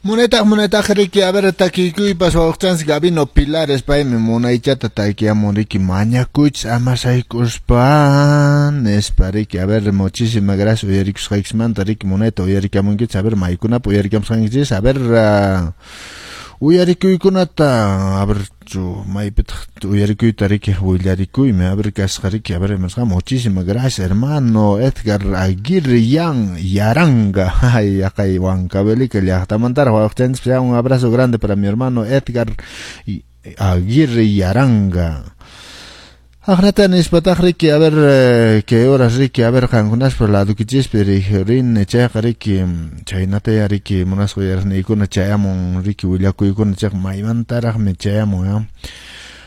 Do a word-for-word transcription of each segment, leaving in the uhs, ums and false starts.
Munaytaq munaytaq riki, a ver, takiykuypas wawqchanchis Gabino Pilares paymi munaychata takiyamun riki, mañakuychis ama sayk'uspa nispa riki. A ver, muchísimas gracias uyarikusqaykismanta riki, munayta uyarikamunkichis. A ver, maykunapi uyarikamusqankichis, a ver, uh, uyarikuykunata, a ver, chu maypitaq uyarikuyta riki willarikuymi, a ver, kasqa riki, a ver, imasqa. Muchísimas gracias, hermano Edgar Aguirre Yan Yaranga, ay, yaqay Huancavelica llaqtamantaraq wawqchanchis. Un abrazo grande para mi hermano Edgar Aguirre Yaranga. Aqnata nispataq riki, a ver, eh, qué horas riki, a ver, qankunaspa ladukichispi rin chayqa riki, chaynataya riki, munasqa uyariqniykuna chayamun riki willakuykuna chayqa maymantaraqmi chayamun ya.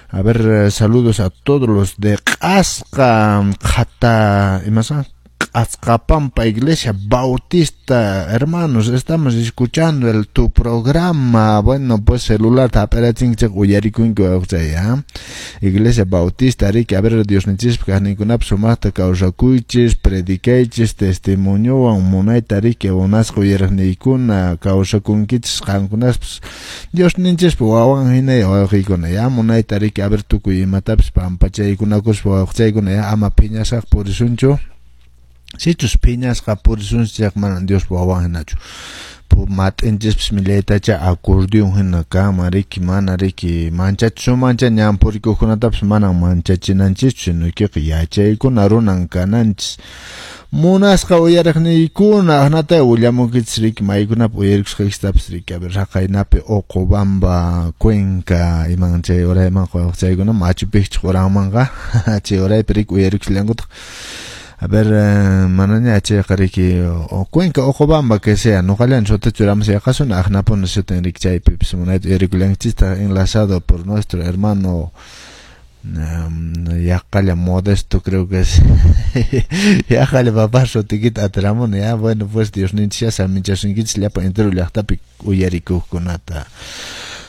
A ver, eh, saludos a todos los de Q'asqa Qhata, imasa Q'asqapampa Iglesia Bautista, hermanos, estamos escuchando el tu programa. Bueno, pues celular tap'arachinkichik uyarikunki wawqchay, ya. Iglesia Bautista, riki, a ver, Diosninchispa kaqninkunapi sumaqta kawsakuychis, predicaychis testimoniowan munayta riki, munasqa uyariqniykuna kawsakunkichis qankunaspas Diosninchispa wawan hina wawqiykuna, ya, munayta riki, a ver, tukuy imatapis pampachaykunakuspa wawqichaykuna, ya, ama phiñasqa purisunchu. Sichus phiñasqa purisunchis chayqa manan Diospa wawan hinachu. Mat'inchispas millaytacha acordeón hina kanman riki, mana riki manchachisunmancha ñan purikuqkunatapas manan manchachinanchischu, sino yachaykuna runan kananchis. Munasqa uyariqniykuna, aqnata willamunkichis riki maykunapi uyarikusqaykistapas riki, a ver, raqaynapi Uqubamba, Cuenca, iman chay urayman chaykuna Machu Picchu quranmanqa chay uraypi riki uyarikusllankutaq. A ver, eh, manaña chayqa riki o Cuenca, Uqubamba, que sea, nuqallan sutita churamus yaqasuna aqnapuna sutin riki chaypipis munayta uyarikullankichistaq enlazado por nuestro hermano um, yaqalla Modesto creo que es, yaqalla papá sutikita atiramuni ya. Bueno, pues Diosninchis saminchasunkichis llapa entero llaqtapi uyarikuqkunata.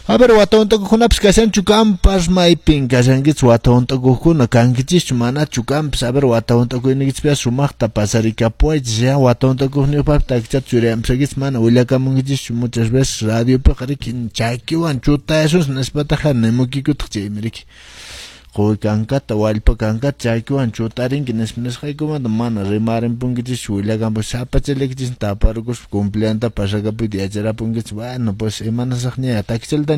A ver, wata hunt'akuqkunapis kashanchu kampas, maypin kashankichis wata hunt'akuqkuna, kankichischu manachu kampas? A ver, wata hunt'akuyniykichispi sumaqta pasarikapuwaychis ya, wata hunt'akuqniyuqpaq takichata churayamusaykichis mana willakamunkichischu muchas veces radiopiqa riki chakiwan chutayasunchis nispataqa nimuykikutaq chaymi riki quwi kankata wallpa kankata chakiwan chutarinki nispa nisqaykumanta mana rimarinpunkichischu willakampu sapachallaykichis taparukuspa cumpleanta pasakapuyta yacharapunkichis. Bueno, pues imanasaqña takichaltan.